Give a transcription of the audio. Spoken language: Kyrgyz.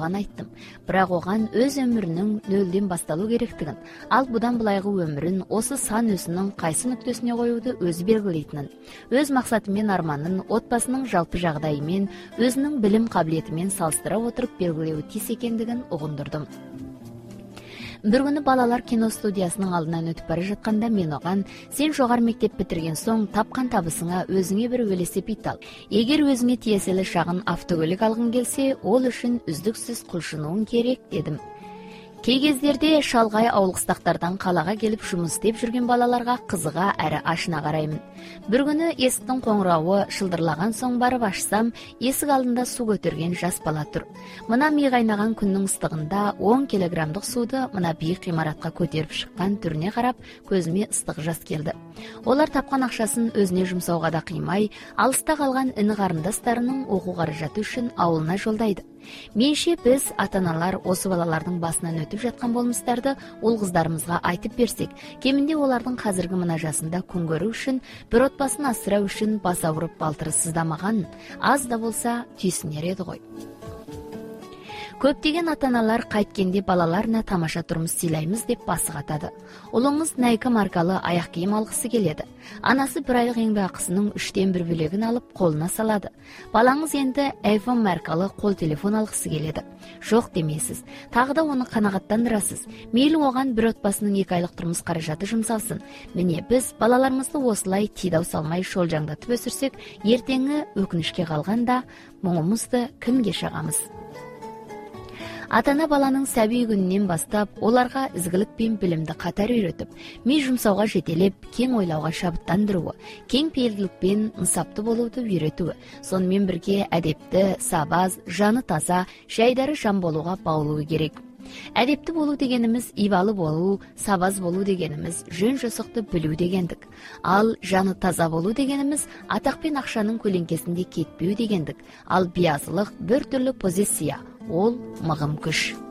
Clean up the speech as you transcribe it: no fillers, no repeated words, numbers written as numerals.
айттым. Бирок оган өз өмүрүнүн нөлдөн башталуу керектигин, ал будан булайкы өмүрүн осы сан өзүнүн кайсы нүктөсүнө коюуду өзү белгилейтинин, өз максаты менен арманын отбасынын жалпы жагдайы менен өзүнүн билим кабилети менен салыштыра отуруп белгилөө тиз экендигин угундурдум. Бир күнү балалар кино студиясынын алдынан өтүп бара жатканда мен оган: сен жогорку мектеп битирген соң тапкан табысыңа өзүңө бир велосипед ал. Эгер өзүңө тиесе эле шагын автокөлүк алгың келсе, ол үчүн үздүксүз кулшунууң керек, дедим. Кей кездерде шалгай ауыл кыстактардан калага келип жумуш издеп жүргөн балаларга кызыга әрі ашына караймын. Бир күнү эсиктин коңурауы шылдырлаган соң барып ачсам, эсик алдында суу көтөргөн жас бала тур. Мына миң кайнаган күндүн ыстыгында 10 килограммдык сууду мына бийик имаратка көтөрүп чыккан түрүнө карап, көзүмө ыстык жас келди. Олар тапкан акчасын өзүнө жумсоого да кыймай, алыста калган ини карындастарынын окуу каражаты үчүн ауылына жолдойду. Менше биз ата-аналар осы балалардын басынан өтүп жаткан болмуштарды ул кыздарыбызга айтып берсек, кеминде олардын казыркы мынажасында күн көрүү үчүн, бир отбасын асырау үчүн баса уруп балтыры сыздамаган, аз да болса түйсүнөр эди гой. Көптөгөн ата-аналар кайткенде балаларына тамаша турмуш сыйлайбыз деп басы катады. Улуңуз Nike маркалы аяк кийим алгысы келеді. Анасы бир айлык эңбек акысынын 3/1 бөлөгүн алып колуна салады. Балаңыз энди iPhone маркалы кол телефон алгысы келеді. Жок демейсиз. Тагы да оны канагаттандырасыз. Мейли оган бир отбасынын 2 айлык турмуш каражаты жумсалсын. Міне биз балаларыбызды осулай тийдау салмай шолжаңдатып өсүрсөк, эртеңи өкүнүшкө калганда моңумузду кимге шагамыз? Ата-ана баланын сәби күнүнөн баштап оларга изгилик пен билимди катар үйрөтүп, ми жумсауга жетелеп, кең ойлауга шабыттандыруу, кең пейилдикпен ынсаптуу болууду үйрөтүү, сонун бирге адепти, сабаз, жаны таза, жайдары жан болууга баалуу керек. Адепти болуу дегенimiz ибалы болуу, сабаз болуу дегенimiz жөн жосокту билүү дегендик. Ал жаны таза болуу дегенimiz атак пен акчанын көлеңкесинде кетпөө дегендик. Ал биязылык бир түрлүү позиция, ол мыгым күч.